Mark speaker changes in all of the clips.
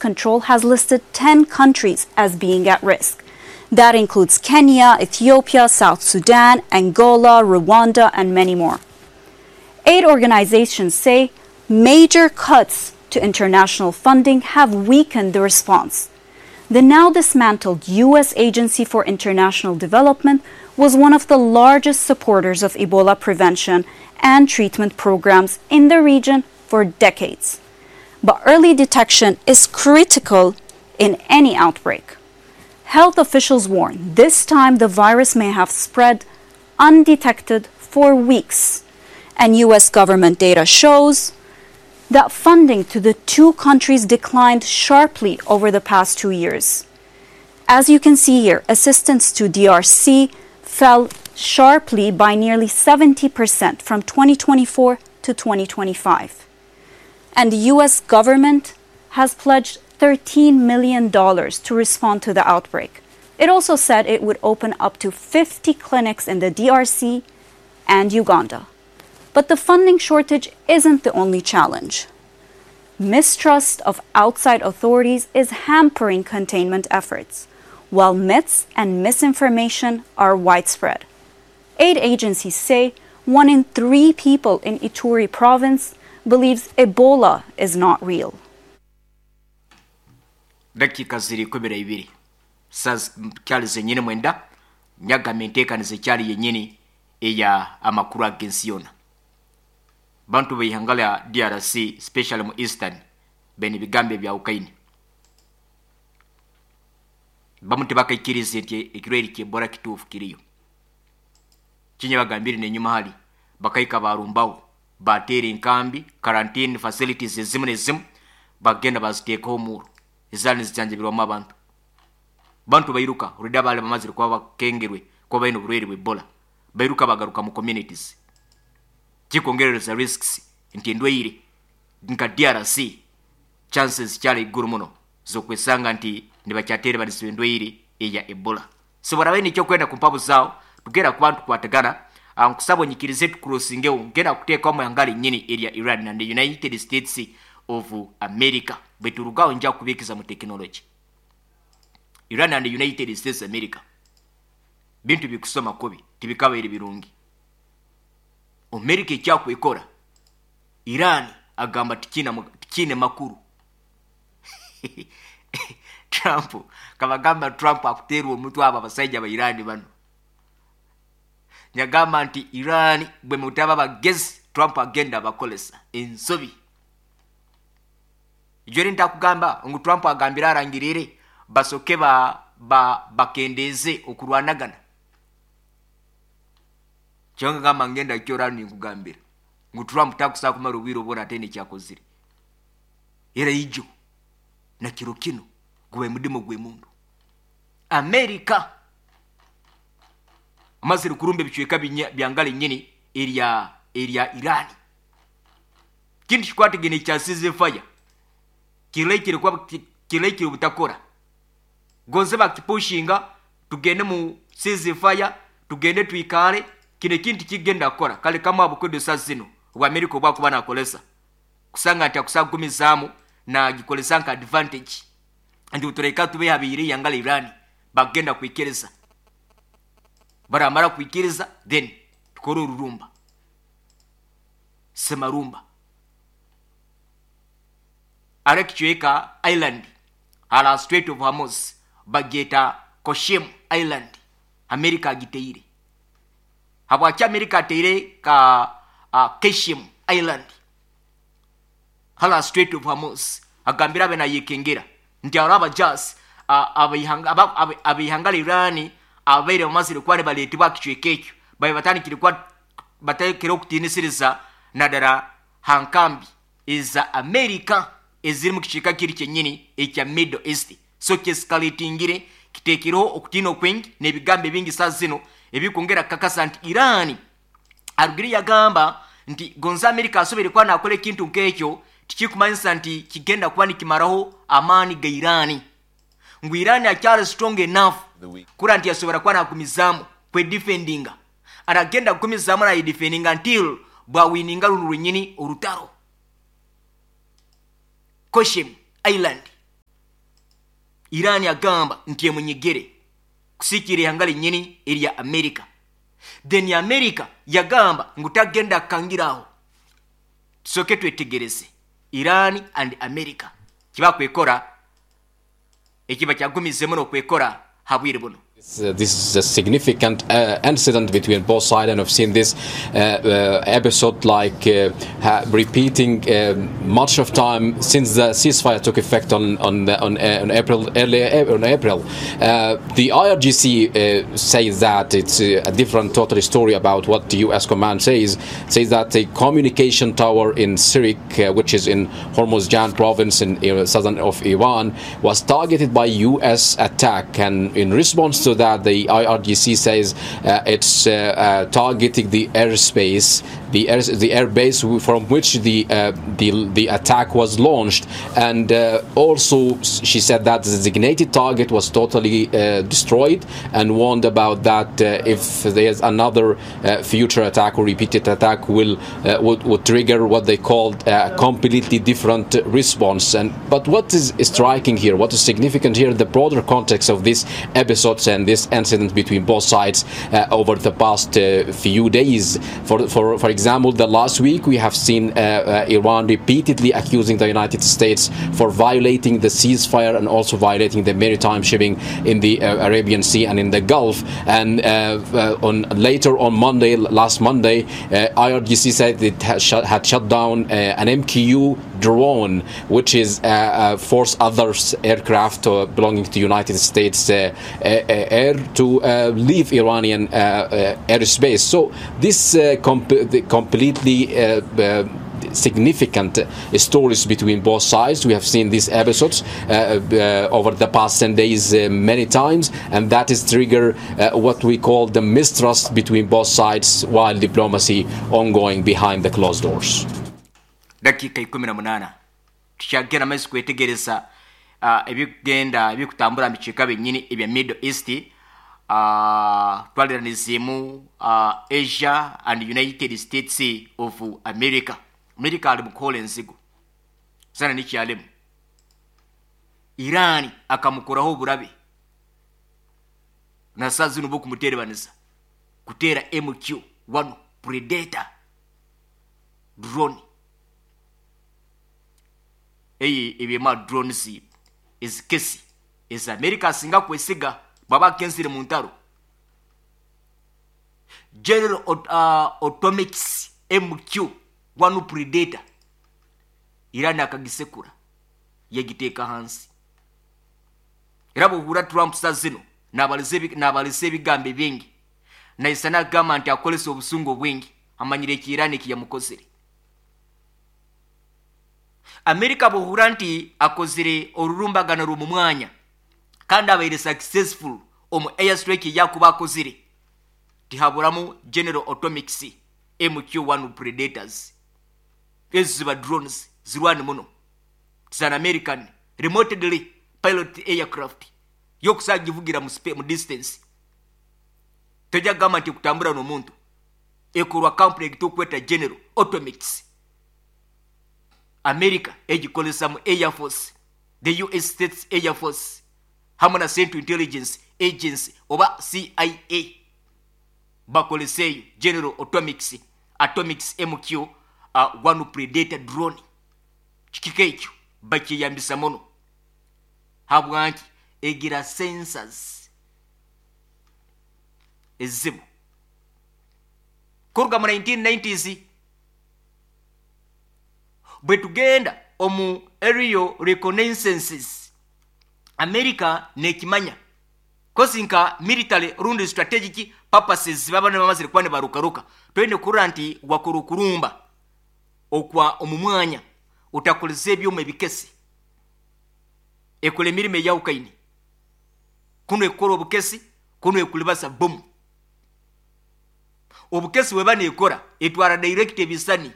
Speaker 1: Control has listed 10 countries as being at risk. That includes Kenya, Ethiopia, South Sudan, Angola, Rwanda, and many more. Aid organizations say major cuts to international funding have weakened the response. The now dismantled U.S. Agency for International Development was one of the largest supporters of Ebola prevention and treatment programs in the region for decades. But early detection is critical in any outbreak. Health officials warn this time the virus may have spread undetected for weeks. And U.S. government data shows that funding to the two countries declined sharply over the past 2 years. As you can see here, assistance to DRC fell sharply by nearly 70% from 2024 to 2025. And the US government has pledged $13 million to respond to the outbreak. It also said it would open up to 50 clinics in the DRC and Uganda. But the funding shortage isn't the only challenge. Mistrust of outside authorities is hampering containment efforts, while myths and misinformation are widespread. Aid agencies say one in three people in Ituri province believes Ebola is not real.
Speaker 2: Dakiika ziri 12 saa kyali zenyini 9 nyagamba enteekaniza ekyali yennyini eya amakuru ag'ensi yona. Bantu beihanga lya DRC, especially mu eastern, bene ebigambo ebyawukaine. Bamu tebakaikirize nti ekirwaire ky'Ebola kituufu kiriyo. Kinya bagambire nenyuma hali bakahika barumbaho, bateera enkambi, quarantine facilities ezimu nezimu bagenda baziteekaho omuuro ezaali nizijanjabirwamu abantu. Bantu bairuka already, abaali bamazire kuba bakengerwe kuba baine oburwaire bwa Ebola bairuka bagaruka mu communities, kikwongerereza risks nti endwaire nka DRC chances kyali iguru muno zokwesanga nti nibakyaterebanizibwa endwaire eya Ebola. So barabaye nikyo kwenda kumpabuzaho tugenda kuba tukwatagana. Nkusaba onyikirize tukurosingeho, ngenda kuteekamu ihanga linyini erya Iran and the United States of America. Bweturugaho nja kubikiza mu technology. Iran and the United States of America, bintu bikusoma kubi, tibikabaire birungi. America ekyakwekora Iran agamba tikine makuru. Trump kabagamba, Trump akuteerwa omutwe abo abasajja ba Iran bano. Nyagamba nti Iran bwe mutaba bagezi, Trump agenda abakolesa ensobi. Ijori ntakugamba ngu Trump agambire arangirire basoke ba bakendeeze okurwanagana. Kyonga gamba ngenda kyora ninkugambira ngu Trump takusaa kumara obwire obwona ate nekyakozire era ijo na kiro kino gubaye mudimu gw'emundu. Amerika amazire kurumba ebicweka byangala enyini erya Irani. Kintu kikwatagene ekya ceasefire kirekire kuba kirekire obutakora gonze bakipushinga tugende mu ceasefire, tugende twikare. Kino ekintu kigenda kukora kale kamwe abukodesa zino obwa Amerika obwakuba nakolesa kusanga nti akusa kugumizaamu nagikolesa nka advantage nti tureka tube habire yangala Irani bagenda kwikiriza, baramara kwikiriza then tukore orurumba semarumba ara kicweka island ala Strait of Hormuz bageta Qeshm Island. America agiteire. Habwaki America ateire ka Qeshm Island hala Strait of Hormuz? Agambira abe nayekengera nti abo abajasi abaihanga Irani abaire bamazire kuba nibareetibwa kicweka ekyo babe batandikire kuba batekere okutiinisiriza naddala ha nkambi eza Amerika eziri mu kicweka kiri kyennyini ekya Middle East. So kyescalatingire, kiteekereho okutiina okwingi n'ebigambo ebingi saa zino ebikwongera kukakasa nti Irani arugire yagamba nti gonza Amerika asobere kuba nakola ekintu nk'ekyo, tikikumanyisa nti kigenda kuba nikimaraho amaani ga Irani, ngu Irani akyali strong enough kura nti asobora kuba nagumizaamu kwedefendinga, aragenda kugumizaamu nayedefendinga until bwawininga luno lwenyini orutaro. Qeshm Island. Iran agamba nti emunyigire kusiikira ihanga linyini erya America. Then America yagamba ngu tagenda kukangiraho. Tusooke twetegereze Iran and America kibakwekora ekiba kyagumizemu n'okwekora ha bwire buno.
Speaker 3: This is a significant incident between both sides, and I've seen this episode like repeating much of time since the ceasefire took effect on April, early on April. The IRGC says that it's a different totally story about what the U.S. command says. Says that the communication tower in Sirik, which is in Hormozgan province in southern of Iran, was targeted by U.S. attack, and in response to that, the IRGC says it's targeting the airspace, the air base from which the attack was launched, and also she said that the designated target was totally destroyed, and warned about that if there's another future attack or repeated attack would trigger what they called a completely different response. But what is striking here, what is significant here, the broader context of this episode and this incident between both sides over the past few days. For example, the last week we have seen Iran repeatedly accusing the United States for violating the ceasefire and also violating the maritime shipping in the Arabian Sea and in the Gulf. And later on Monday, last Monday, IRGC said it had shut down an MQ drone, which is forced other aircraft belonging to United States air to leave Iranian airspace. So this completely significant stories between both sides. We have seen these episodes over the past 10 days many times, and that is trigger what we call the mistrust between both sides while diplomacy ongoing behind the closed doors.
Speaker 2: Dakika 18 tukyagenda maiso kwetegereza ebigenda ebikutambura mu bicweka byennyini ebya Middle East, twaliranizimu Asia and United States of America. America ali mukuhola enzigo sana nikyalemu Iran akamukoraho oburabe na saa zino bokumuterebaniza kuteera MQ-1 Predator drone. Eyi ebyema drones ezikesi eza America asinga kwesiga baba kensire mu ntaro. General Atomics MQ-1 Predator Iran akagisekura yagiteeka hansi. Era bw'ohura Trump saa zino n'abalese ebigambo bingi naisa n'agamba nti akolesa obusungu bwingi amanyire eki Iran ekiyamukozere. America bw'ohura nti akozere orurumbagano rw'omu mwanya kandi abaire successful omu airstrike yakuba akozere, tihaburamu General Atomics MQ-1 Predators. Ezo ziba drones zirwani muno. It's an American remotely pilot aircraft yokusagivugira mu distance. Tojja kugamba nti kutambura n'omuntu. Ekorwa company egitukweta General Atomics. America egikozesa mu Air Force, the US States Air Force, hamwe na Central Intelligence Agency oba CIA. Bakoleseyo General Atomics MQ-1 Predator drone. Kikika ekyo bakiyambisa muno. Habwanki egira sensors ezibu. Kuruga mu 1990s bwe tugenda omu aerial reconnaissances, America nekimanya kosi nka military rundi strategic purposes baba ne bamazire kuba ne barukaruka twende kurora nti wakora okurumba okwa omu mwanya utakoleza ebyuma ebikesi ekola emirimo eyawukaine kuno ekora obukesi kuno ekulibasa bomu. Obukesi weba nekora etwara direct ebisani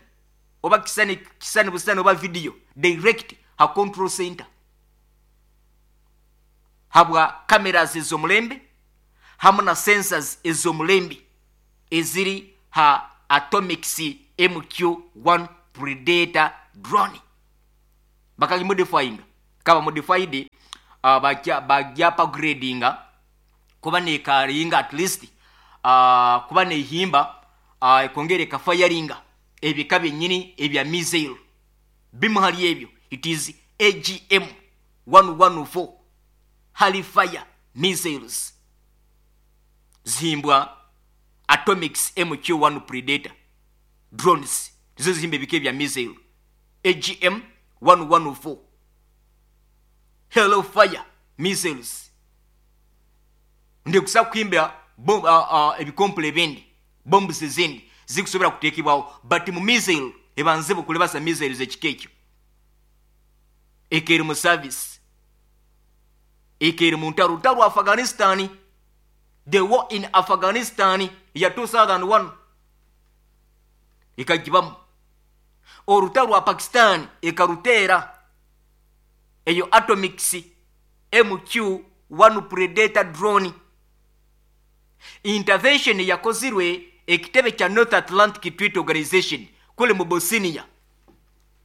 Speaker 2: oba kisani busani oba video direct ha control center habwa cameras ez'omulembe hamwe na sensors ez'omulembe eziri ha Atomics MQ-1 Predator drone. Bakagimodifying kaba modified Bagya upgradinga kuba nekaringa at least kuba nehimba, ekongera ekafayaringa ebika byenyini ebya missile. Bimu hali ebyo, it is AGM 114 Hellfire missiles, zihimbwa Atomics MQ1 Predator drones, nizo zihimba ebika ebya missile AGM 114 Hellfire missiles. Ndikusa kuhimba ebikompule ebindi, bombs ezindi zikusobola kutekebwaho, but mu missile ebanze bukulebasa missiles ekika ekyo ekeri mu service, ekeri mu ntalo, olutalo lwa Afghanistan, the war in Afghanistan ya 2001 ekagibamu, olutalo lwa Pakistan ekaruteera eyo Atomics MQ1 Predator drone. Intervention yakozirwe ekitebe kya North Atlantic Treaty Organization kule mu Bosnia,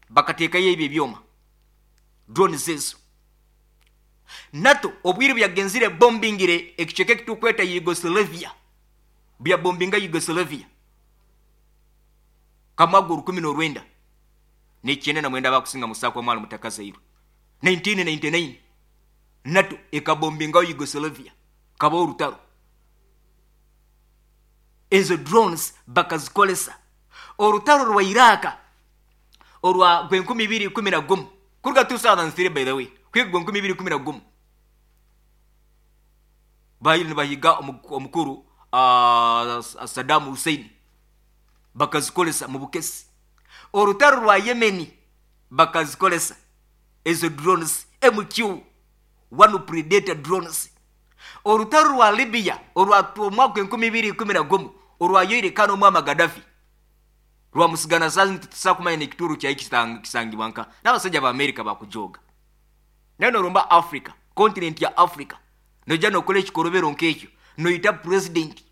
Speaker 2: bakateekayo ebyo ebyoma, drones ezo. NATO obwire byagenzire bombingire ekicweka ekitukweta Yugoslavia, byabombinga Yugoslavia kamwaga 1999, bakusinga musako mwali mutakazairwe 1999, NATO ekabombingawo Yugoslavia, kaba olutalo. Ezo drones bakazikolesa. Olutalo rwa Iraka olwa gwe 2011 kuruga 2003, by the way, kwiga gwe 2011, bayiri nibahiga omukuru Saddam Hussein, bakazikolesa mu bukesi. Olutalo rwa Yemeni bakazikolesa ezo drones, MQ 1 Predator drones. Olutalo rwa Libya olwa omwaka 2011 olwayoire kano omwama Gaddafi rwamusigana sazi tusakumanya nekituru kyai kisangibwa nka n'abasajja ba America bakujoga. Naye noromba Africa, continent ya Africa, noja nokola ekikorobero nkekyo, noyita president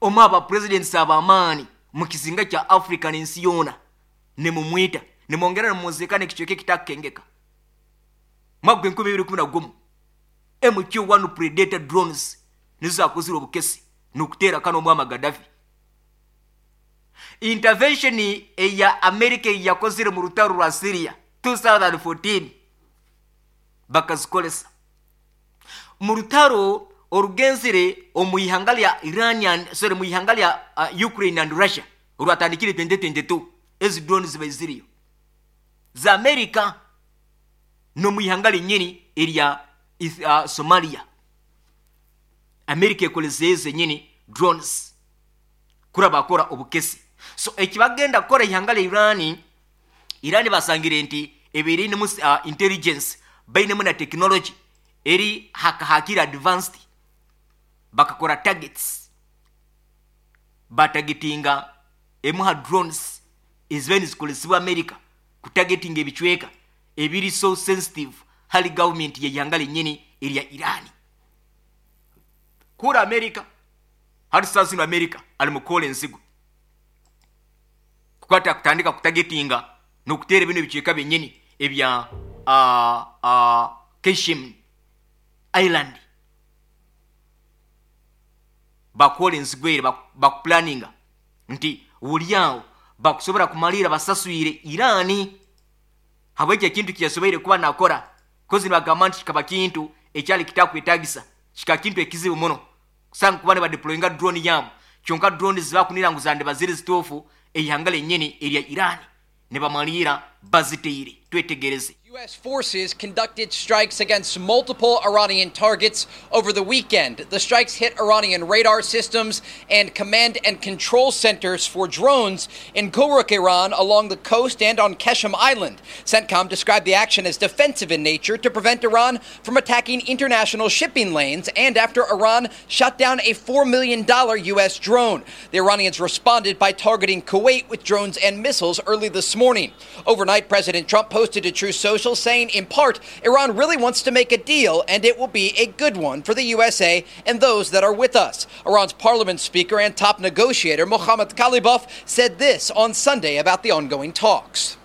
Speaker 2: omu aba presidents abamaani mu kizinga kya Africa n'ensi yoona, nemumwita, nemwongera nemumuzika nekicweka ekitakukengeka. Mwaka gwe 2011 MQ1 Predator drones nizo zakozire obukesi nokuteera kano omwama Gaddafi. Intervention eya America yakozire mu rutaro rwa Syria 2014 bakazikolesa. Mu rutaro orugenzire omu ihanga lya Iranian, sorry, mu ihanga lya Ukraine and Russia olwatandikire 2022, ezi drones ziba ziriyo za America, no mu ihanga lyenyini erya Somalia America ekoleza zenyini drones kura bakora obukesi. So ekibagenda kukora ihanga lya Irani, Irani basangire nti ebirinimu intelligence, bainemu na technology eri hakahakira advanced, bakakora targets, batagetinga emuha drones eziba nizikolesebwa America kutagetinga ebicweka ebiri so sensitive hali government yeihanga lenyini erya Irani. Kura America hati saa zino America ali mukola enzigo kukwata kutandika kutagetinga n'okuteera bino ebicweka byenyini ebya Keshim Island. Bakola enzigo ere, bakuplaninga nti buli awo bakusobola kumalira basaswire Irani habwekyo ekintu kyeyasoboire kuba nakora, kozi nibagamba nti kikaba kintu ekyali kitakwetagisa, kika kintu ekizibu muno kusanga kuba nibadeployinga drone yabo, kyonka drone zibakunira ngu zandiba ziri zituufu, eihanga lyenyini erya Irani nibamalira baziteire. Twetegereze.
Speaker 4: U.S. forces conducted strikes against multiple Iranian targets over the weekend. The strikes hit Iranian radar systems and command and control centers for drones in Kuruk, Iran, along the coast and on Keshem Island. CENTCOM described the action as defensive in nature to prevent Iran from attacking international shipping lanes, and after Iran shot down a $4 million U.S. drone. The Iranians responded by targeting Kuwait with drones and missiles early this morning. Overnight, President Trump posted to Truth Social saying, in part, Iran really wants to make a deal, and it will be a good one for the USA and those that are with us. Iran's parliament speaker and top negotiator, Mohammad Qalibaf, said this on Sunday about the ongoing talks.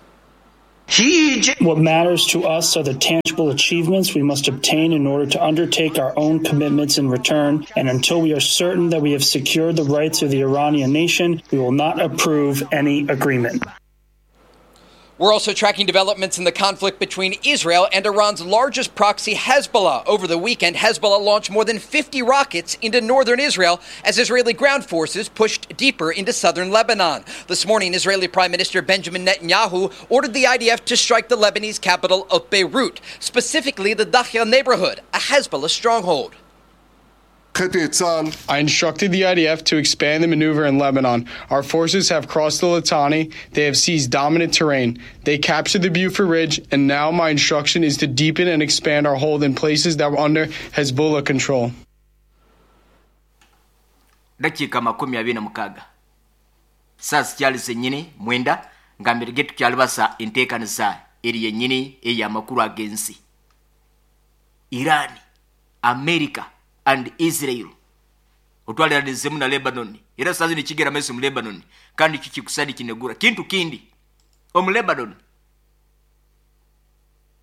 Speaker 5: What matters to us are the tangible tangible achievements we must obtain in order to undertake our own commitments in return, and until we are certain that we have secured the rights of the Iranian nation, we will not approve any agreement.
Speaker 4: We're also tracking developments in the conflict between Israel and Iran's largest proxy, Hezbollah. Over the weekend, Hezbollah launched more than 50 rockets into northern Israel as Israeli ground forces pushed deeper into southern Lebanon. This morning, Israeli Prime Minister Benjamin Netanyahu ordered the IDF to strike the Lebanese capital of Beirut, specifically the Dahya neighborhood, a Hezbollah stronghold.
Speaker 6: I instructed the IDF to expand the maneuver in Lebanon. Our forces have crossed the Litani. They have seized dominant terrain. They captured the Beaufort Ridge, and now my instruction is to deepen and expand our hold in places that were under Hezbollah control.
Speaker 2: Dakiika 26 saa zikyali zenyini 9 ngambirege tukyalibasa enteekaniza eri yennyini ey'amakulu ag'ensi. Iran, America and Israel otwaliranizemu na Lebanon, era saa zino kigera maiso mu Lebanon, kandi kikikusadi kinegura kintu kindi omu Lebanon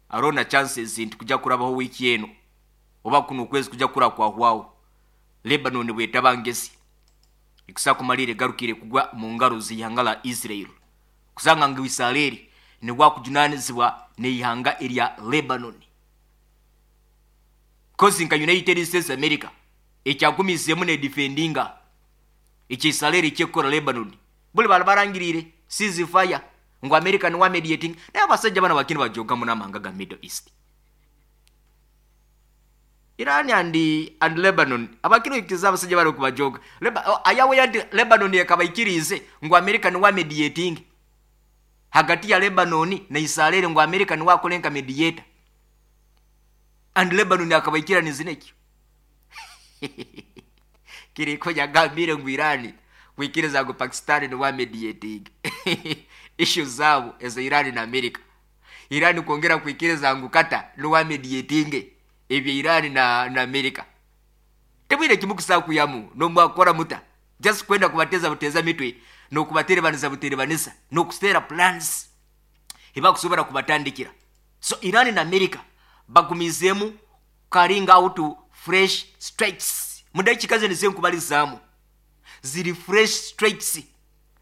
Speaker 2: arona chances nti kujja kurabaho wiiki eno oba kuno okwezi kujja kura kwahwaho. Lebanon bwetaba ngezi ikusa kumalire garukire kugwa mu ngaro z'ihanga la Israel, kusanga ngu Israeli ni wakujunanizibwa n'ihanga erya Lebanon. Kozi nka United States America ekyagumizemu ne defendinga ekisaleeri kyekora Lebanon, buli bala barangirire ceasefire ngu America ni wa mediating, naye abasajja bana bakini bajogamu n'amahanga ga Middle East. Iran and Lebanon abakino ikiza abasajja bari kubajoga. Ayawe ya Lebanon yakabaikirize ngu America ni wa mediating hagati ya Lebanon na Israel, ngu America ni wakolenka mediator and Lebanon akabaikira nizinekyo. Kiriko yagambire ngu Iran kuikiriza ngu Pakistan ni wa mediating issue zabo eza Iran na America. Iran kuongera kuikiriza ngu Qatar ni wa mediating ebya Iran na America. Tebwire kimukusa kuyamu no mwakora muta just kwenda kubateza buteza mitwe no kubaterebanisa buterebanisa no kustera plans ibakusobora kubatandikira. So Iran na America bagumizemu carrying out fresh strikes. Mudakika zene zenkubalizamu ziri fresh strikes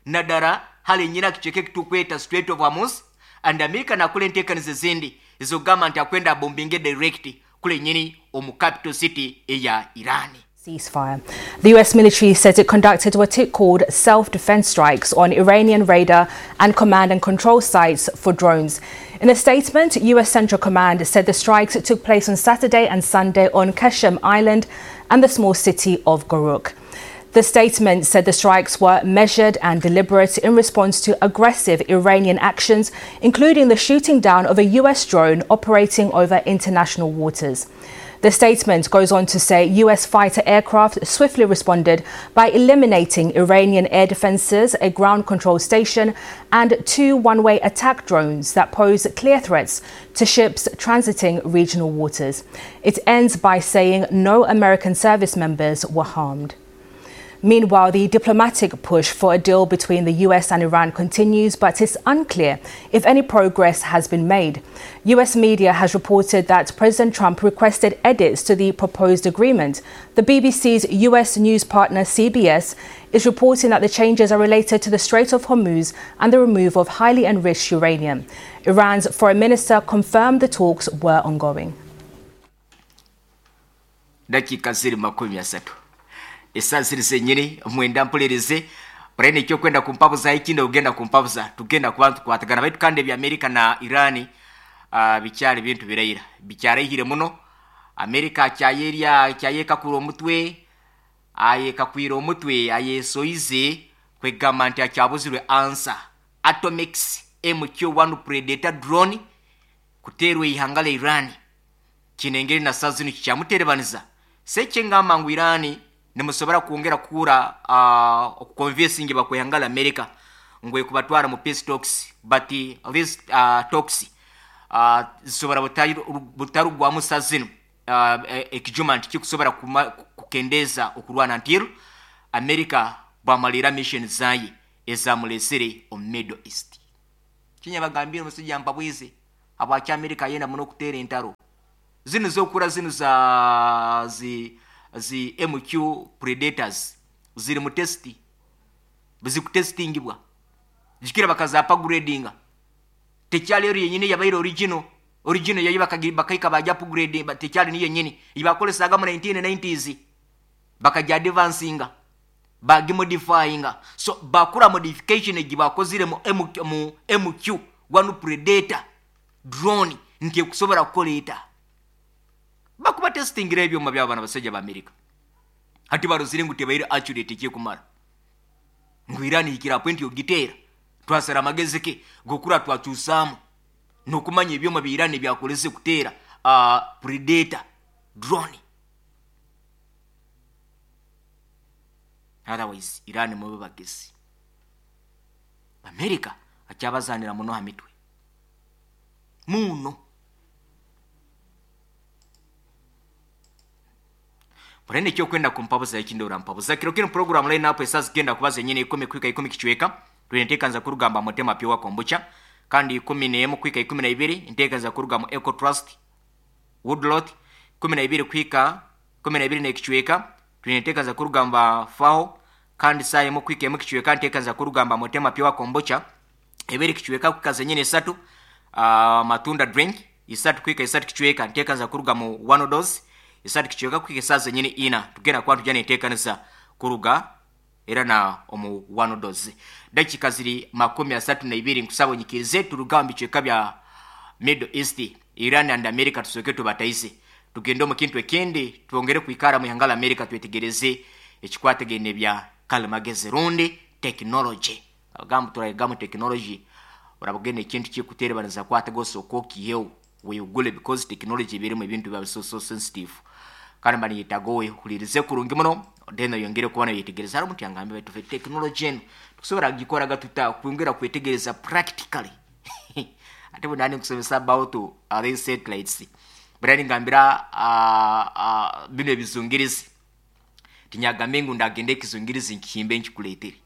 Speaker 2: nadara hali nyina kicheke kitukweta Strait of Hormuz, and America nakule enteekaniza zindi ezogamba nti akwenda bombinge direct kule nyini omu capital city eya Iran.
Speaker 7: Ceasefire. The US military says it conducted what it called self-defense strikes on Iranian radar and command and control sites for drones. In a statement, US Central Command said the strikes took place on Saturday and Sunday on Qeshm Island and the small city of Garuk. The statement said the strikes were measured and deliberate in response to aggressive Iranian actions, including the shooting down of a US drone operating over international waters. The statement goes on to say US fighter aircraft swiftly responded by eliminating Iranian air defenses, a ground control station, and 2 one-way attack drones that pose clear threats to ships transiting regional waters. It ends by saying no American service members were harmed. Meanwhile, the diplomatic push for a deal between the US and Iran continues, but it's unclear if any progress has been made. US media has reported that President Trump requested edits to the proposed agreement. The BBC's US news partner CBS is reporting that the changes are related to the Strait of Hormuz and the removal of highly enriched uranium. Iran's foreign minister confirmed the talks were ongoing.
Speaker 2: Dakika 30. Esasiri zenyini mwenda mpulirize prene kyo kwenda kumpabuza ikindi ugenda kumpabuza tugenda kubantu kwatagana baitu kandi bya America na Iran bicyari bintu birayira bicyarehire muno. America cyayeria cyayeka kuro mutwe ayeka kwiro mutwe ayesoize kwegamba nti akyabuzirwe answer Atomex MQ-1 Predator drone kuterwe ihangale Iran kinengeri na sazini kyamuterebaniza sekengamba ngu Iran nimusobora kuongera kura okuconvincing bakwehangala America ngwe kubatwara mu peace talks, but this talks zisobora butarugwa musazino ekijuma nti kikusobora kukendeza okurwana ntiru America bamalira mission zaye ezamulesere omu Middle East. Kinya bagambire omusajja mpabwize abwaki America yenda muno okutera entaro. Zinu zokura zinu za zi MQ Predators ziri mu testi, zikutestingibwa jikira bakaza upgradinga. Tekyali eri yenyini yabaire original, original yayi bakaika bajya upgrade, tekyali niyo yenyini ibakolesaga mu 1990s, bakajya advancinga bagimodifyinga. So bakura modification egibakozire mu MQ 1 Predator drone nti ekusobola kukoleeta. Bakuba testingira ebyuma by'abaana basajja ba Amerika. Hati barozire ngu tebaire accurate ekikumara. Ngu Iran hikira point yogiteera. Twasara amagezi ke gokura twakyusaamu n'okumanya ebyuma bya Iran byakolese kuteera Predator drone. Otherwise Iran mube bagezi. Amerika akyabazanira muno ha mitwe. Muno. Murene kyo kwenda kumpabuza ekindora mpabuza. Kiro kino program line up esaz genda kubaza nyene 10 kwika 10 kichweka. Tunetekanza kurugamba motema pyo kombucha. Kandi 11 kwika 12 ntekanza kurugamba Eco Trust Woodlot 12 kwika 12 ne kichweka. Tunetekanza kurugamba FAO kandi saye mu kwika mu kichweka ntekanza kurugamba motema pyo kombucha. Ebere kichweka kukaza nyene 3 matunda drink 3 kwika 3 kichweka ntekanza kurugamba one dose. Isati kichweka kwike saza nyene ina tugenda kwa tujane tekanisa kuruga era na omu one dose. Dakika ziri 32 nkusabo nyikirize turugambi chweka bya Middle East, Iran and America tusoke tubataise. Tugende mu kintu ekindi tuongere kuikara mu hangala America twetegereze ekikwategene bya kalimagezi rundi technology. Agambo turayigamu technology urabugene ekintu kikuterebaniza kwategoso kokiyewo weyugule because technology birimu ebintu bya so sensitive. Kandi bani yitagowe kulirize kurungi muno then yongere kubana yetegereza hari muti angambe batufe technology eno tukusobora gikora gatuta kwongera kwetegereza practically. Ate bunani kusomesa about these satellites. Brani ngambira bino ebizungirizi. Tinyagambe ngu ndagende ekizungirizi nkihimbe nkikuletere.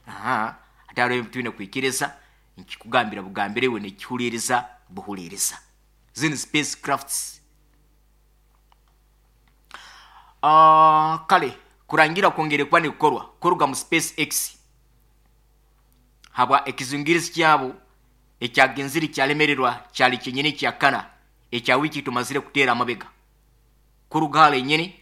Speaker 2: Aha, ate hariho twine kwikiriza nkikugambira bugambire we nekihuliriza buhuliriza. Zini spacecrafts. Kale kurangira kwongere kuba nikukorwa kuruga mu SpaceX habwa ekizungirizi kyabo ekyagenziri kyalemererwa kyali kyenyini kyakana ekya wiki tumazire kuteera amabega kuruga hale nyini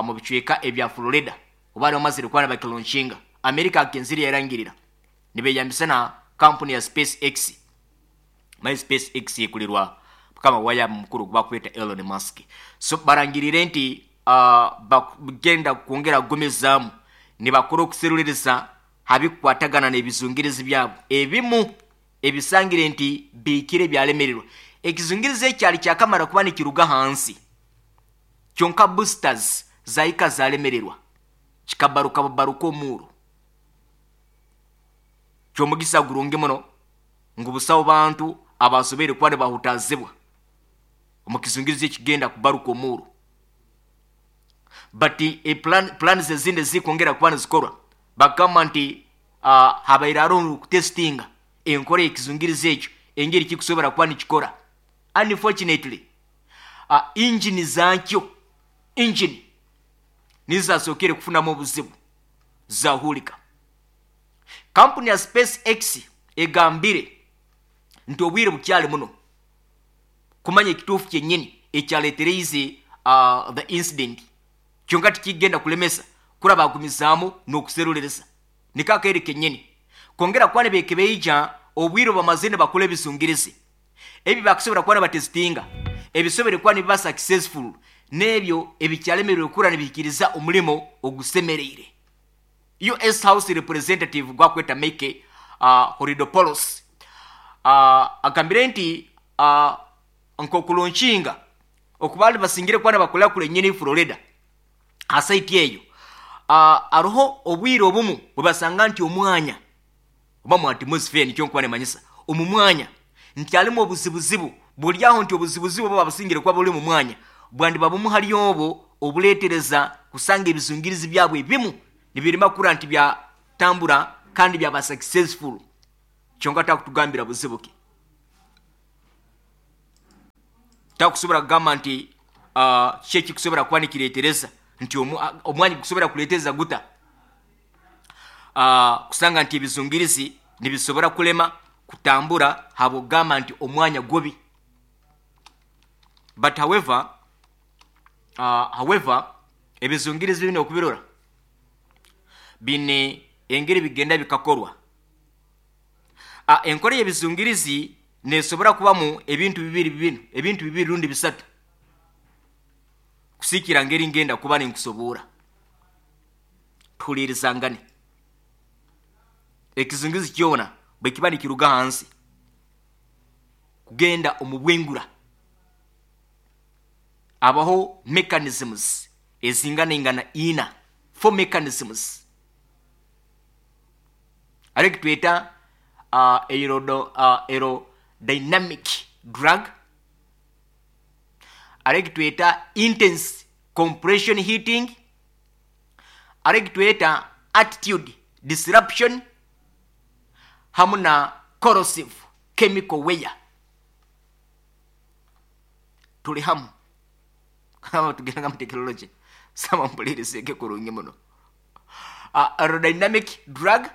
Speaker 2: mu bicweka ebya Florida oba bamazire kuba bakilaunchinga. America agenziri yarangirira nibeyambisa na kampuni ya SpaceX. My SpaceX ikulirwa kama waya mukuru gwa kweta Elon Musk. So barangirire nti bagenda kwongera gumizamu nibakora okuseruliriza habikwatagana n'ebizungirizi byabo ebimu ebisangire nti bikire byalemererwa. Ekizungirizi ekyali kyakamara kuba nikiruga hansi kyonka boosters zaika zalemererwa kikabaruka baruka omuro kyomugisa gurungi muno ngu busawo bantu abasobere kuba bahutazibwa omukizungirizi ekigenda kubaruka omuro. But e plans ezindi zikongera kuba nizikorwa bagamba nti habaire hariho kutestinga enkora ekizungirizi ekyo engeri kikusobora kuba nikikora. Unfortunately engine zakyo engine nizasokere kufunamu obuzibu zahulika. Kampuni ya SpaceX egambire nti obwire bukyali muno kumanya ekituufu kyennyini ekyaleetereize the incident kyonka tikigenda kulemesa kura bagumizaamu n'okuserulereza nikakeere kennyini kwongera kuba nibeekebeija obwire bamaze nibakora ebizungirizi ebi bakusobora kuba nibatesitinga ebisobere kuba nibiba successful n'ebyo ebikyalemererwe kura nibihikiriza omulimo ogusemereire. US House Representative gwakweta Mike Horidopolos agambire nti nkokulonshinga okubali basingire kuba nibakolera kure nyini Florida asaiti eyo aroho obwire obumu bwebasanga nti omwanya oba mu atmosphere nikyo nkuba nemanyisa omu mwanya nti alimu obuzibuzibu buli aho nti obuzibuzibu oba basingire kuba buli mu mwanya bwandiba bumu hali obwo obuleetereza kusanga ebizungirizi byabwe ebimu nibirima kura nti byatambura kandi byaba successful. Kyonka takutugambira buzibu ki. Takusobora kugamba nti kiki ekikusobora kuba nikireetereza nti omwanya gukusobora kuleeteza guta kusanga nti ebizungirizi nibisobora kulema kutambura habwokugamba nti omwanya gubi. But however, ebizungirizi binu okubirora biine engeri bigenda bikakorwa. Enkora y'ebizungirizi neesobora kubamu ebintu bibiri binu, ebintu bibiri rundi bisatu, kusiikira ngeri ngenda kuba ninkusoboora. Tuhuliirizangane. Ekizungirizi kyona bwe kiba nikiruga hansi kugenda omu bwengura, habaho mechanisms ezinganaingana ina, four mechanisms. Hariho ekitweta aerodynamic drag, hariho ekitweta intense compression heating, hariho ekitweta attitude disruption, hamu na corrosive chemical wear. Tuli hamu tugenda mu tekinology, saba mpuliirizeeke kurungi muno. Aerodynamic drag,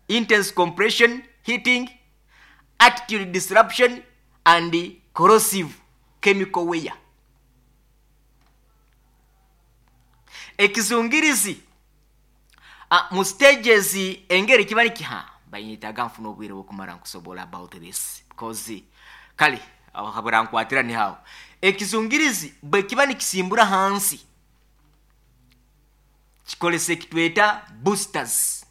Speaker 2: intense compression heating, attitude disruption and corrosive chemical wear. Ekizungirizi mu stages engeri kiba nikiha banyetaga nfuna obwire bw'okumara nkusobola about this because kale aho burankwatira ni hawo. Ekizungirizi bwe kiba nikisimbura hansi kikolesa ekitweta boosters.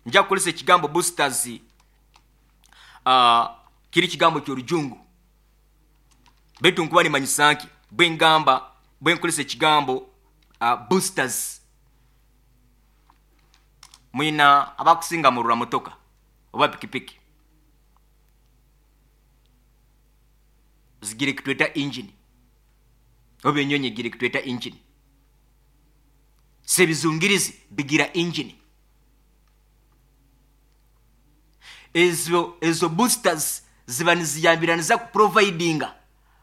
Speaker 2: Nja kukolesa ekigambo boosters, kiri kigambo ky'orujungu, baitu nkuba nimanyisa nki bwengamba bwenkolesa ekigambo boosters. Mwina abakusinga murura motoka oba pikipiki zigira ekitweta engine, oba enyonyi egira ekitweta engine. So ebizungirizi bigira engine. Ezo boosters ziba niziyambiraniza kuprovidinga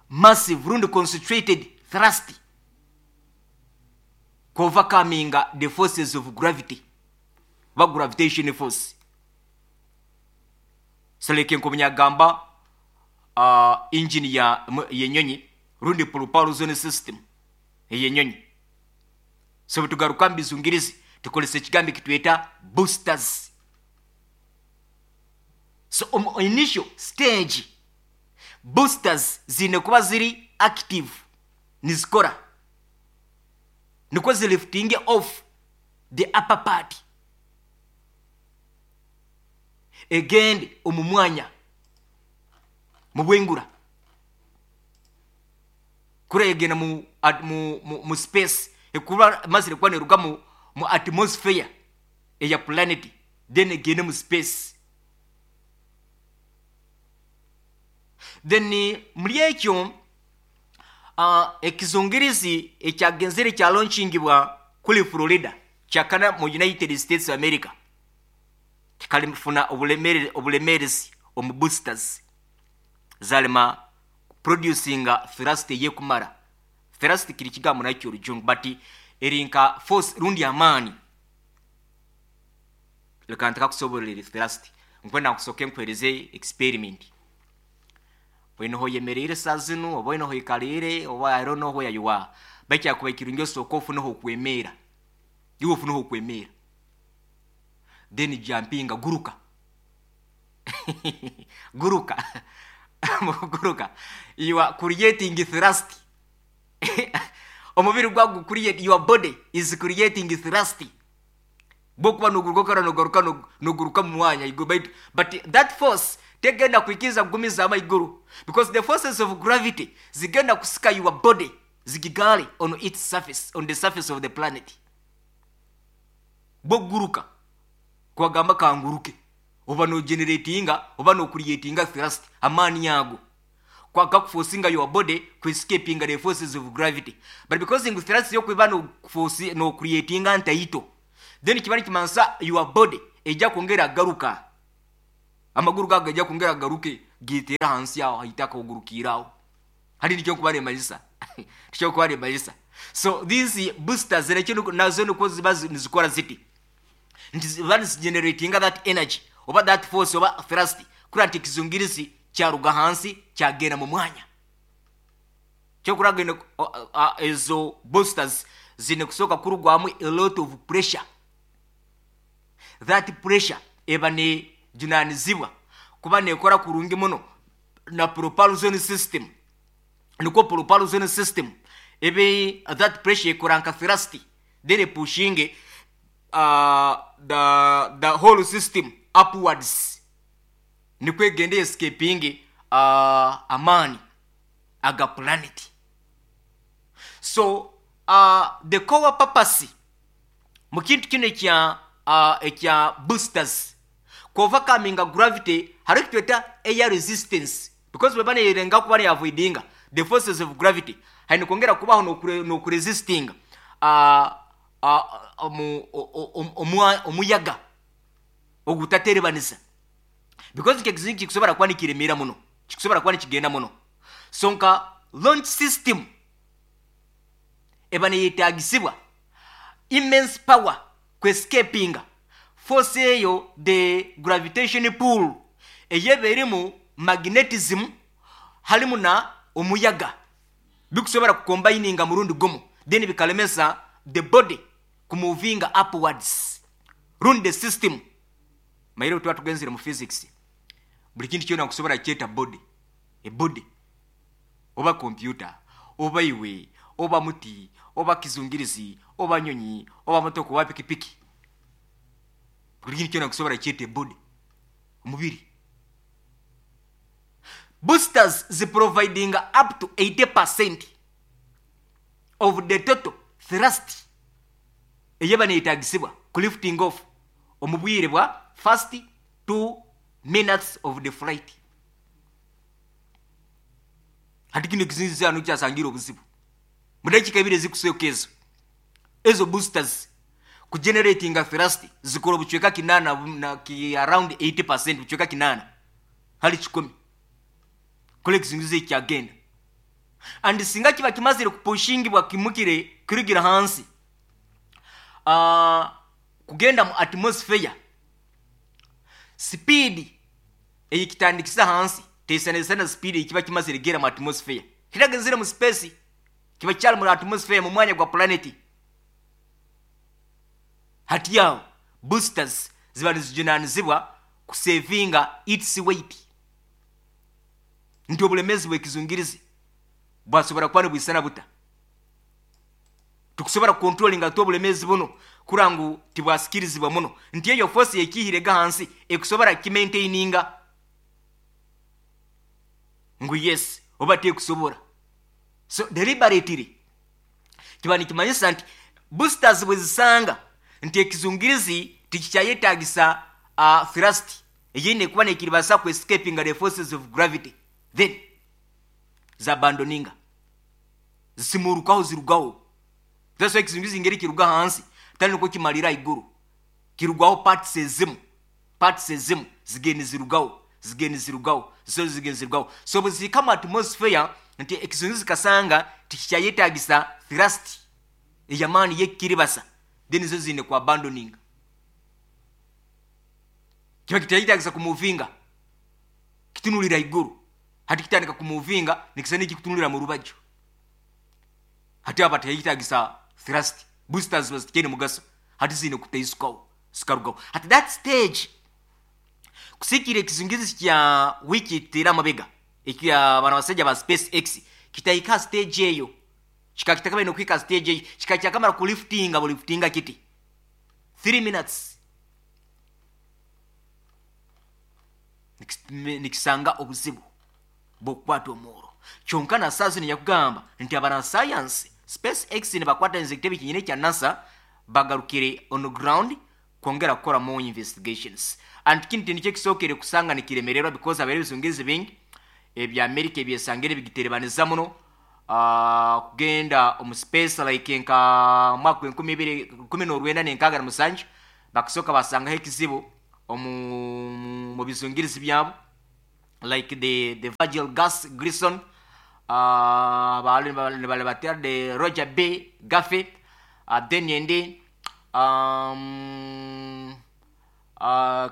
Speaker 2: massive rundi concentrated thrust kuovercominga the forces of gravity, ba gravitation force. Seleke nkomunyagamba engine ya yenyonyi rundi propulsion system eyenyonyi. So tugaruka mbizungirizi tukolesa ekigambo ekitweta boosters. So initial stage boosters zine kuba ziri active, nizikora nikwo zilifting off the upper part egende omu mwanya mu bwengura, kura egenda mu space, ekuba mazire kuba neruga mu atmosphere eya planet, then egende mu space. Then muri ekyo ekizungirizi ekyagenzere kya launchingibwa kuli Florida kyakana mu United States of America kikalifuna obulemerezi omu boosters zalema producinga thrust yekumara. Thrust kiri kigambo nakyo orujungu, but erinka force rundi amaani. Leka ntakakusoborera thrust, nkwenda nkusoke nkwereze experiment. Oine hoyemereire saa zinu oba oine hoikariire oba I don't know where you are, bakyakuba ekirungi osooka ofuneho okwemera, iwe ofuneho okwemera, then jumpinga, guruka guruka guruka, you are creating thrust. Omubiri gwagu create, your body is creating thrust bwokuba noguruka kara nogaruka noguruka mu mwanya you go, but that force tegenda kuikiriza kugumiza amaiguru, because the forces of gravity zigenda kusika your body zigigale on its surface, on the surface of the planet. Bwoguruka kwagamba kanguruke, oba no generatinga oba no creatinga thrust, amaani yago kwaka kuforcinga your body ku escapinga the forces of gravity. But because ngu thrust yo kuba no force no creatinga ntaito, then kibali kimansa your body ejja kwongera garuka, amaguru gago gajja kwongera garuke Geteera hansi aho haitaka ogurukire aho. Hati nikyo nkuba nimanyisa, nikyo nkuba nimanyisa. So these boosters nakyo nazo nikwo ziba nizikora ziti nti ziba nizigeneratinga that energy oba that force oba thrust kurora nti ekizungirizi kyaruga hansi kyagenda mu mwanya. Kyokurora ezo boosters zine kusooka kurugwamu a lot of pressure. That pressure eba nejunanizibwa kuba nekora kurungi muno na propulsion system. Nikwo propulsion system ebe that pressure ekora nka thrust, then pushinge the whole system upwards. Nikwo egende escaping amaani aga planet. So the core purpose mu kintu kino ekya boosters kuovercominga gravity, hariho ekitweta air resistance, because bweba neyerenga kuba neavoidinga the forces of gravity, haine kwongera kubaho n'okuresistinga omuyaga ogutaterebaniza, because ekizungu kikusobora kuba nikiremera muno, kikusobora kuba nikigenda muno. So nka launch system eba neyetagisibwa immense power kwescapinga force eyo, the gravitation pull eyeba erimu magnetism halimu na omuyaga, bikusobora kukombininga murundi gumu, then bikalemesa the body kumuvinga upwards rundi the system. Maire tuba tugenzere mu physics, buli kintu kyona nkusobora kyeta body, a body oba computer oba iwe oba muti oba kizungirizi oba nyonyi oba motoka oba pikipiki, buli kintu kyona nkusobora kyeta body, omubiri. Boosters ziproviding up to 80% of the total thrust eyeba neyetagisibwa ku lifting off omu bwire bwa first 2 minutes of the flight. Hati kino ekizingizi hano kyasangira obuzibu mu dakiika ebiri ezikusooka, ezo boosters kugeneratinga thrust zikora obucweka 80 na ki around 80%, bucweka 80 hali 100 kole ekizingizi ekyagenda. And singa kiba kimazire kupushingibwa kimukire kurugira hansi kugenda mu atmosphere, speed eyikitandikisa hansi tesanezana speed ekiba kimazire gera mu atmosphere. Kitagenzire mu space, kiba kyali mu atmosphere, mu mwanya gwa planet. Hati aho boosters ziba nizijunanizibwa kusavinga its weight, nti obulemezi bw'ekizungirizi bwasobora kuba nibwisana buta, tukusobora kucontrollinga tu obulemezi buno kura ngu tibwasikirizibwa muno, nti eyo force yekihirega hansi ekusobora kimaintaininga ngu yes oba tekusobora. So deliberately kiba nikimanyisa nti boosters bwezisanga nti ekizungirizi tikikyayetagisa thrust eyine kuba nekiribasa ku escaping the forces of gravity, then zabandoninga zisimurukaho zirugaho. That's why ekizungirizi ngeri kiruga hansi tali niko kimalira iguru, kirugwaho parts ezimu, parts ezimu zigenda zirugaho, zigenda zirugaho, zo zigenda zirugaho. So bwezika mu atmosphere nti ekizungirizi kasanga tikikyayetagisa thrust eyamaani yekiribasa, then zo zine ku abandoning, kiba kitayetagisa kumuvinga kitunulira iguru. Hati kitandika kumuvinga nikisa nikikutunulira mu rubaju, hati aba tayetagisa thrust, boosters bazitikene mugaso, hati zine kutaisukaho zikarugaho. At that stage kusikira ekizungirizi kya wiki tera amabega ekya bana basajja ba SpaceX kitahika stage eyo, kikakitaka bino kwika stage eyo, kikakyakamara ku liftinga bu liftinga kiti 3 minutes nikisanga obuzibu bw'okukwata omworo. Kyonka na saa zino yakugamba nti abana science SpaceX ne bakwata ekitebe kinyine kya NASA bagarukire on the ground kwongera kukora more investigations. And kintu nikyo kisookere kusanga nikiremererwa, because abaire ebizungirizi bingi ebya America ebyesangire bigiterebaniza muno kugenda omu space, like nka mwaka enkumi ibiri kumi n'orwenda n'enkaaga na musanju bakasooka basangaho ekizibu mu bizungirizi byabo. Like the Virgil Gus Grissom, bali the Roger B Gaffey, then yendi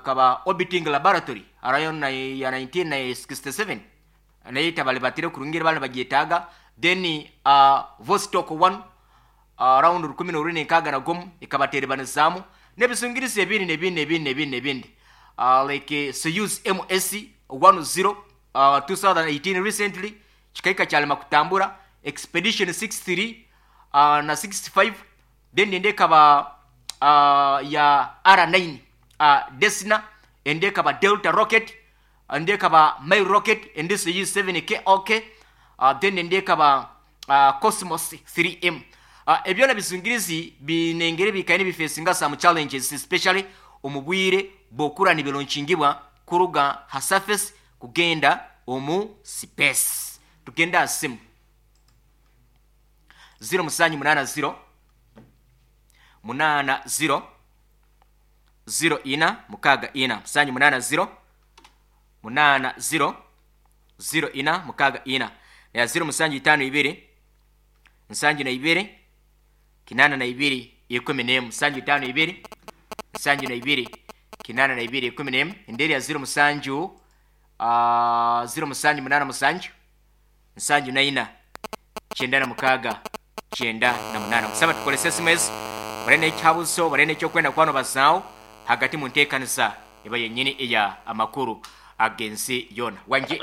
Speaker 2: kaba orbiting laboratory arayo na ya 1967 naye tabali batire kurungira bali bagyetaaga. Then Vostok 1 around 2016 ikabaterebanizaamu n'ebisungirizi ebindi nebindi nebindi nebindi nebindi, like Soyuz MS 10, 2018 recently kikaika kyalema kutambura. Expedition 63 na 65. Then ende ekaba ya R9 Desna, ende ekaba Delta rocket, ende ekaba Mir rocket, ende Soyuz 7K, okay. Then ende ekaba Cosmos 3M. Ebyona bisungirizi binengere bikaine bifacinga some challenges, especially omu bwire bwokura nibilaunchingibwa kuruga ha surface kugenda omu space. Tugenda asimu 0780 80 04 64, 780 80 04 64 ya 0752 72 82 11, 752 72 82 11. Enderi ya 07 0787 74 96 98. Kusaba tukolese SMS barene ekyabuzo, barene ekyokwenda kwano bazaawo hagati mu nteekaniza eba yennyini eya amakuru ag'ensi yona. Wanje?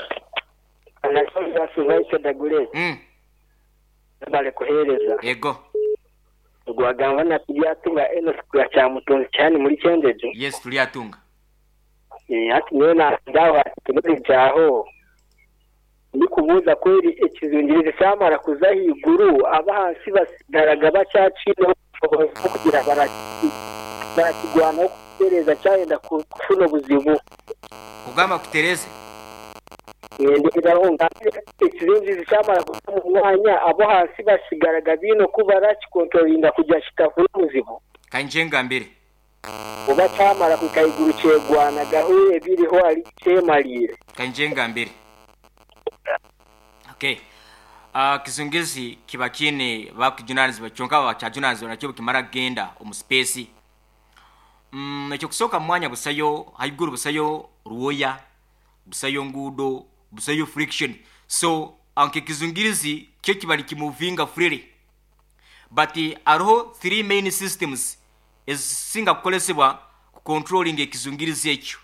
Speaker 8: Bale kuhereza.
Speaker 2: Ego.
Speaker 8: Gwagamba na tulyatunga eno ya kyamutunzi cyane muri cyendeje.
Speaker 2: Yes, tulyatunga.
Speaker 8: Ati niyo ndawa tekinoloji aho ndi kubuza kweri ekizungirizi cyamara kuza higuru, abahansi basigaraga bacyacine kugira barakigwanaho kutereza cyayenda kufuna obuzibu.
Speaker 2: Kugamba kutereze.
Speaker 8: Ndiraho ekizungirizi cyamara kuza mu mwanya, abo hasi basigaraga bino kuba barakikontrolinga kugira kitafuna obuzibu.
Speaker 2: Kanje ngambire.
Speaker 8: Oba cyamara kukayiguru kyegwanagaho ebiriho ari kyemalire.
Speaker 2: Kanje ngambire. Okay. Kizungizi kiba kine bakujunanizibwa, kyonka bakyajunanizibwa nakyo kimara kugenda omu space. Ekyo kusooka mu mwanya busayo haiguru, busayo ruwoya, busayo nguudo, busayo friction, so anke kizungirizi kyo kiba nikimovinga freely. But hariho three main systems ezisinga kukolesebwa ku controlling ekizungirizi ekyo.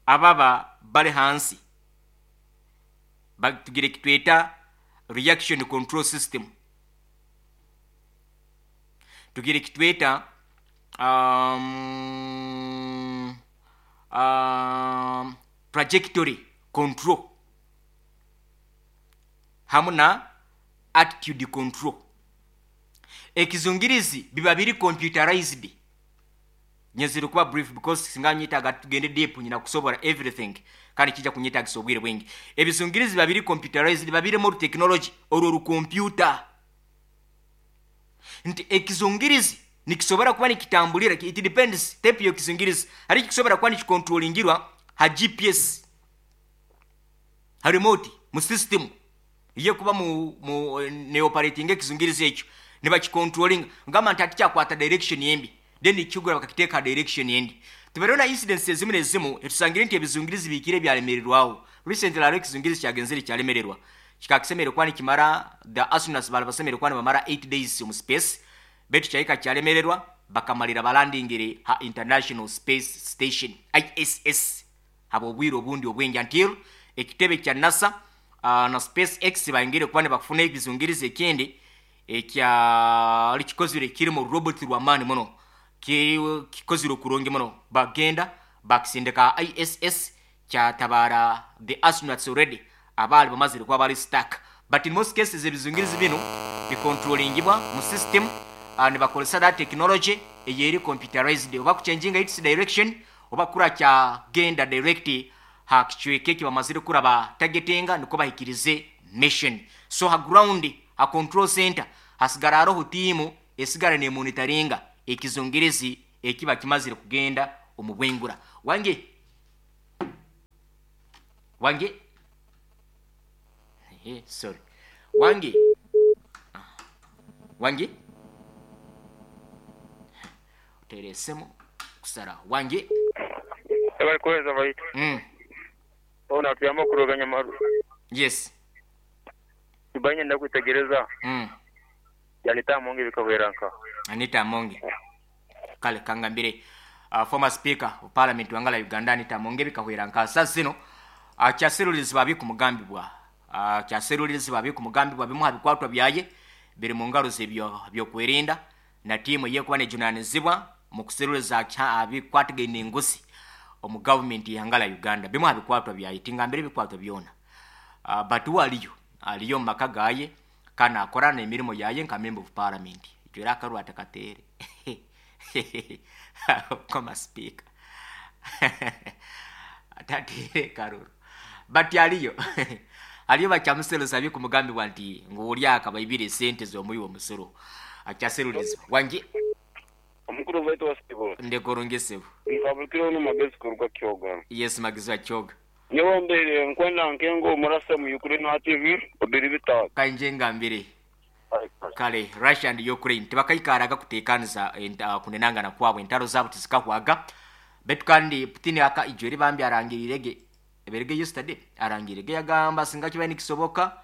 Speaker 2: Ababa bali hansi batugire kitweta reaction control system, tugire kitweta trajectory control hamu na attitude control. Ekizungirizi biba biri computerized. Nyezire kuba brief because singa nyitaga tugende deep nyina kusobora everything kandi kijja kunyitagisa obwire bwingi. Ebizungirizi biba biri computerized, biba biri mu technology olwo ru computer, nti ekizungirizi nikisobora kuba nikitambulira, it depends type yo kizungirizi, hari kisobora kuba nikikontrolingirwa ha GPS, ha remote mu system iye kuba mu ne operating ekizungirizi ekyo nibakicontrolling ngamba nti atikyakwata direction yembi, then ikigura bakakiteeka direction yendi. Tuberona incidents ezimu nezimu etusangire nti ebizungirizi bikire byalemererwawo. Recently hariho ekizungirizi kyagenzere kyalemererwa, kikakisemere kwani kimara the astronauts bali basemere kwani bamara 8 days mu space, betu kyahika kyalemererwa bakamalira balandingire ha International Space Station ISS habo obwire obundi obwingi until ekitebe kya NASA na SpaceX bayingire kwani bakufuna ebizungirizi ekindi ekyali kikozire kiri mu robot rwamani muno, kikozire kurungi muno, bagenda bakisindika ISS kyatabara the astronauts already abali bamazire kuba bali stuck. But in most cases ebizungirizi bino bikontrolingibwa mu system, nibakozesa that technology eyeri computerized, oba kuchanginga its direction oba kura kyagenda direct ha kichweke kibamazire kuraba targetinga niko bahikirize mission. So ha ground, ha control center hasigara hariho tiimu esigara nemonitoringa ekizungirizi ekiba kimazire kugenda omu bwengura. Wange? Wange. Sorry. Wange. Wange. Teresemu kusara. Wange.
Speaker 9: Bari kuhereza baitu. Ona tuyamba kuroganya maru.
Speaker 2: Yes.
Speaker 9: Tubanye ndakwitegereza. Yanita Amonge bikahweranka.
Speaker 2: Anita Amonge. Kale kangambire former speaker of parliament wangala Uganda Anita Amonge bikahweranka. Sasa zino kyaserulizi babi kumugambibwa. Kyaserulizi babi kumugambibwa bimu habikwatwa byaye biri mu ngaro zebyo byokwerinda na timu yekuba nejunanizibwa mu kuseruliza abikwatagene enguzi omu government yangala Uganda bimu habikwatwa byaye tingambire bikwatwa byona. Batu aliyo maka gaye kana akorana emirimu yaye nka member of parliament. Ijwera akarwa atakatere. Koma speaker. Atatere karuru. But aliyo aliyo bakyamuseruza byo kumugambibwa nti ng'oli akabaibire sente z'omuyi w'omusolo. Akyaseruliza. Wangi
Speaker 9: omukuru waitu wa Sibo.
Speaker 2: Ndekorongesebu.
Speaker 9: Nfabulukira ono magezi kuruga Kyoga.
Speaker 2: Yes, magezi wa Kyoga.
Speaker 9: Nyewe mbere nkwenda nkengo omurasa mu Ukraine na TV obiri bitatu.
Speaker 2: Kanje ngambire. Kale Russia and Ukraine tibakaikaraga kutekaniza kunenangana kwabwe entaro zabo tizikahwaga. Betu kandi Putin aka ijweri bambi arangirirege eberege yesterday arangirege yagamba singa kiba nikisoboka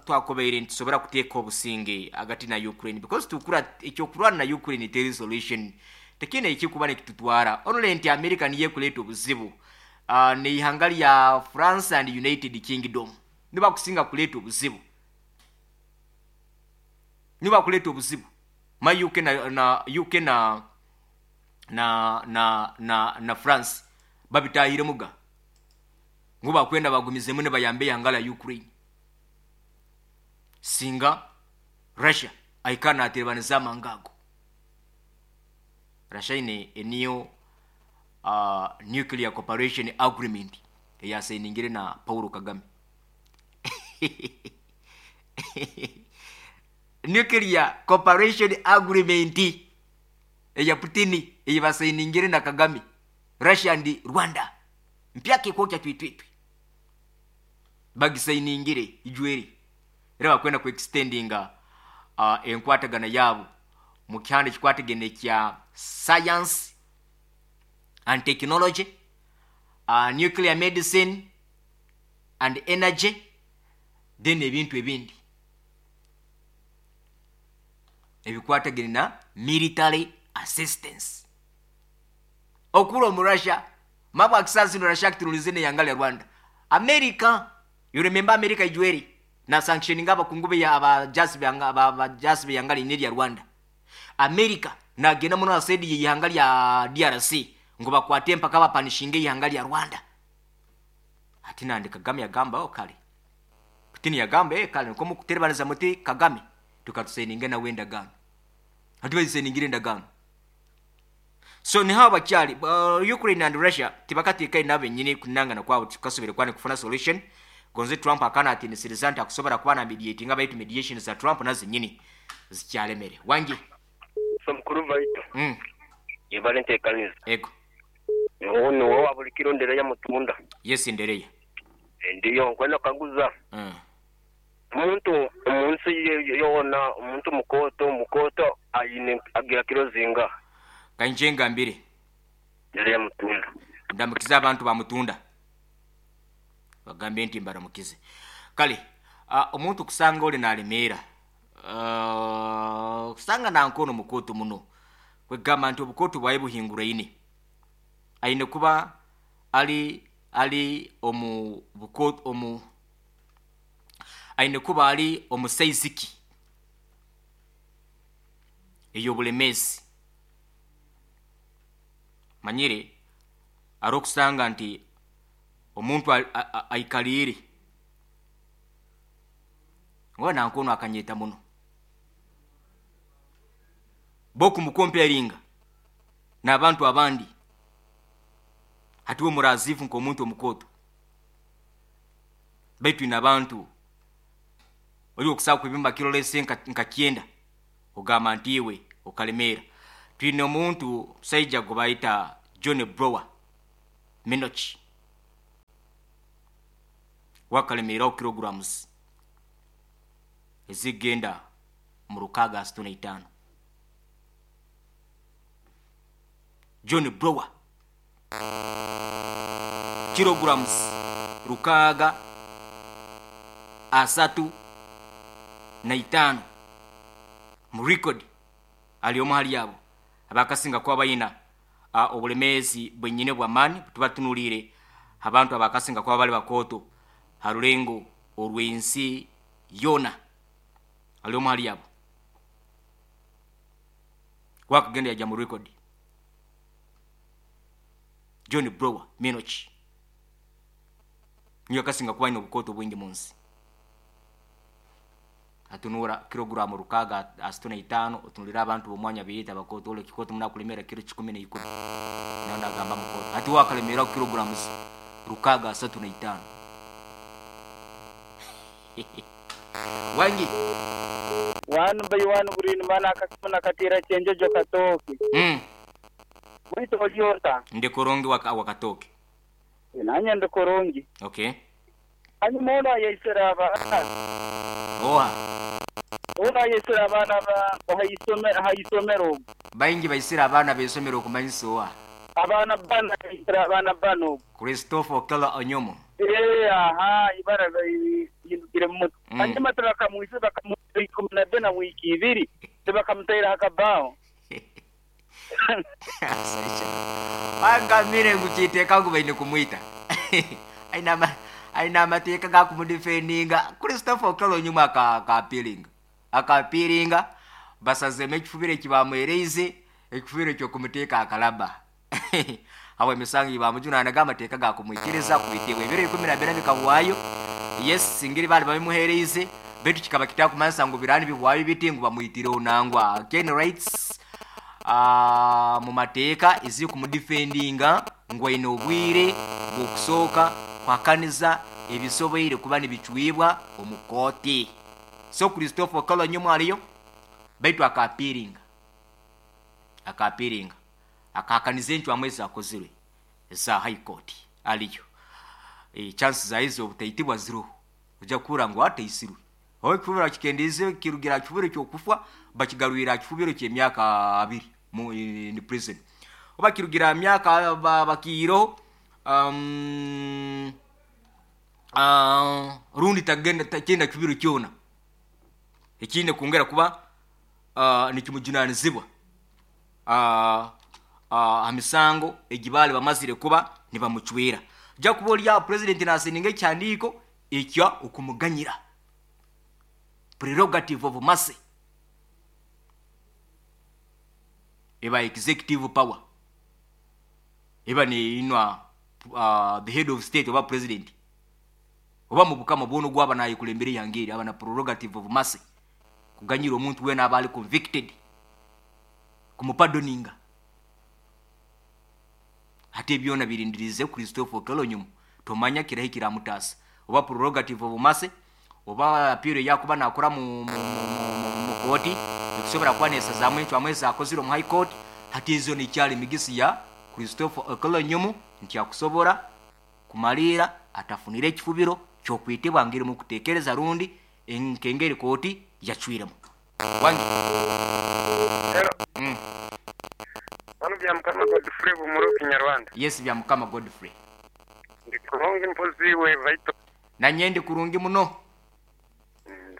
Speaker 2: twakobeire ntisobora kuteeka obusinge agati na Ukraine because tukura ekyokurwana na Ukraine teri solution tekine ekikuba nekitutwara only nti America niye kuleta obuzibu ne ihanga lya France and United Kingdom niba kusinga kuleta obuzibu niba kuleta obuzibu ma UK na UK na na na na na France babitahire muga nguba kwenda bagumizemu ne bayambe yangala Ukraine singa Russia aikana aterebaniza mangago Russia ine eniyo nuclear cooperation agreement eyasayiningire na Paul Kagame. Nuclear cooperation agreement eya Putin eyabasayiningire na Kagame, Russia and Rwanda mpyake kokya twitwitwi bagisayiningire ijweri era bakwenda ku extendinga enkwatagana yabo mu kyanda kikwatagene kya science and technology, nuclear medicine and energy, then ebintu ebindi ebikwatagene na military assistance. Okuro mu Russia mabwa kisasi no Russia kiturulizene yangale Rwanda. America, you remember America ijweri na sanctioning aba kungube ya abajasi byanga abajasi byangale ineri ya Rwanda. America na gena muno asedi yihangali ya DRC ngo bakwate mpaka bapanishinge yihangali ya Rwanda. Ati nande Kagame yagamba o kale. Putin yagamba kale nko mukuterebaniza muti Kagame tukatuseninge na wenda gano. Ati baziseningire ndagano. So ni hawa bakyali Ukraine and Russia tibakatika inabe nyine kunangana kwabo tukasubire kwani kufuna solution. Gonze Trump akana ati nisirizanta akusobora kuba na mediating abayita mediation za Trump nazo nyini zikyalemere. Wangi
Speaker 9: so mukuru vaito. Yebalente kanisa.
Speaker 2: Ego.
Speaker 9: Ono wa bulikiro ndereya mutunda.
Speaker 2: Yes ndereya.
Speaker 9: Ndiyo nkwenda kanguza. Omuntu omunsi yona omuntu mukoto ayine agira kiro zinga.
Speaker 2: Kanjenga mbiri.
Speaker 9: Ndereya mutunda.
Speaker 2: Ndamukiza abantu ba mutunda. Bagambe nti mbaramukize. Kale omuntu kusanga oli nalemera. Kusanga nankono mukoto muno. Kwegamba nti obukoto bwaye buhingura ine. Aine kuba ali omu bukoto omu aine kuba ali omusaiziki eyo bulemezi. Manyire arokusanga nti omuntu aikalire ngo nankono akanyeta muno boku mukomparinga n'abantu abandi hatiwe murazifu nko omuntu omukoto baitu n'abantu oli okusaba kwibimba kirolese nka kyenda ogamba nti iwe okalemera. Twine omuntu musajja gwe bayita John Brower Minoch. Wakalemeeraho kilograms ezigenda mu 635. John Brower kilograms 635 mu record ali omu hali abo abakasinga kuba bayina obulemeezi bwenyine bw'amaani. Tubatunuliire abantu abakasinga kuba bali bakooto ha rulengo orw'ensi yoona, ali omu hali abo wakagenda yajya mu record. John Brower Minoch niyo akasinga kuba ayina obukooto bwingi mu nsi. Atunura kilogramu 635, otunulira abantu b'omwanya beyita abakooto, ole kikooto munakulemera kiro 10 10, nayo nagamba mukooto hati wakalemeraho kilograms 635. Wangi
Speaker 8: One by one green man akasimu nakatira kyenjojo katooke. Bwito olyota.
Speaker 2: Ndi kurungi wakatooke.
Speaker 8: Nanye ndi kurungi.
Speaker 2: Okay.
Speaker 8: Hanyuma ono ayaisire abaana.
Speaker 2: Oha.
Speaker 8: Ono ayaisire abaana haisomero.
Speaker 2: Baingi baisire abaana b'isomero okumanyisa oha.
Speaker 8: Abaana bana baisire abaana bano.
Speaker 2: Christopher Okello Onyumu.
Speaker 8: Aha, ibara yindukire mu mutwe. Hanyuma turakamwisa bakamuha 12 wiki 2 tibakamutera hakabao.
Speaker 2: Angamire nguchiteka ngu baine kumwita. Aina amateeka gakumudefendinga. Christopher Okello Onyumu akapiringa. Akapiringa basazeme ekifubiro ekibamwereize, ekifubiro ekyokumuteka akalaba. Awo emisango ibamujunanaga amateeka gakumwikiriza kwitibwa ebiro 12 bikahwayo. Yes, singiri bali babimuhereize, betu kikaba kitakumansa ngu birani bihwayo biti ngu bamwitireho nangwa. Ken rights mu mateeka ezi kumudefendinga ngu aine obwire bw'okusooka kwakaniza ebisoboire kuba nibicwibwa omu kooti. So Christopher Okello Onyumu aliyo baitu akapiringa. Akapiringa. Akakaniza encwamu ezakozirwe eza High Court aliyo. Chances za hizo obutaitibwa ziro. Ojja kuhurra ngu ataisirwe. Owe kifubiro akikendiize kirugira kifubiro ky'okufa bakigarwira kifubiro ky'emyaka 2 mu in prison. Oba kirugira myaka bakiireho rundi tagenda takenda kifubiro kyona. Ekindi kwongera kuba nikimujunanizibwa amisango egibali bamazire kuba nibamucwera. Ojja kuba oli aho president naseninga ekihandiiko ekya okumuganyira. Prerogative of mercy eba executive power eba neinwa the head of state oba president oba mu bukama bwono gwaba nayekulembera yangeri aba na prerogative of mercy kuganyira omuntu wena aba ali convicted kumupardoninga. Ate byona birindirize Christopher Okello Onyumu tomanya kirahi kiramutasa oba prerogative of mercy oba appeal yakuba nakora mu kooti ekusobola kuba nesazaamu encwamu ezakozire omu High Court. Hati ezo nikyali migisi ya Christopher Okello Onyumu nti akusobola kumaliira atafunire ekifubiro kyokwitibwa ngeri mu kuteekereza rundi nkengeri kooti yacwiremu. Wangi.
Speaker 9: Hello. Wano bya Mukama Godfrey Bumuro Kinyarwanda.
Speaker 2: Yes, bya Mukama Godfrey.
Speaker 9: Ndi kurungi mpozi we vaito.
Speaker 2: Nanye ndi kurungi muno.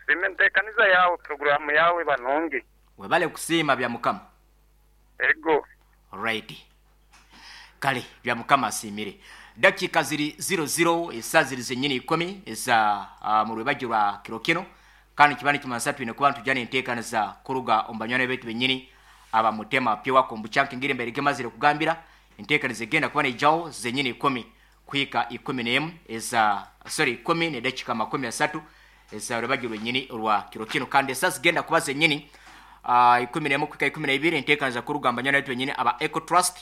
Speaker 9: Sime nteekaniza yawe programu yawe banongi.
Speaker 2: Webale kusiima bya Mukama.
Speaker 9: Ego.
Speaker 2: Alright. Kale bya Mukama asiimire. Dakika ziri 00 esaa ziri zenyini 10 eza mu rwebagyo rwa kiro kino kandi kibani kimansa twine kuba ntujana enteekaniza kuruga omu banywani baitu bennyini abamutema pye wako mbucyanke ngire mbere gemazire kugambira enteekaniza egenda kuba neijaho zenyini 10 kuhika 11 eza sorry 10 ne dakika 30 eza rwebagyo rwenyini rwa kiro kino kandi esaa zigenda kuba zenyini 11 kuhika 12 enteekaniza kuruga omu banywani baitu bennyini aba Eco Trust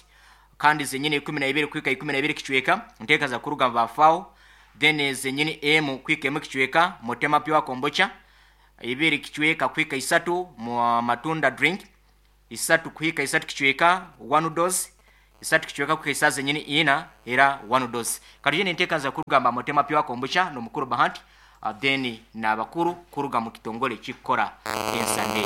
Speaker 2: kandi zenyini 12 kuhika 12 kichweka enteekaniza kuruga mu bafao then zenyini M kuhika M kichweka mutema pye wakombocha 2 kichweka kuhika 3 mu matunda drink 3 kuhika 3 kichweka 1 dose Isatu kicweka kuka esaaha zenyini ina era one dose. Kati nenteekaza kurugamba mutema pyo akombucha n'omukuru Bahanti, then n'abakuru kuruga mu kitongole kikora ensande.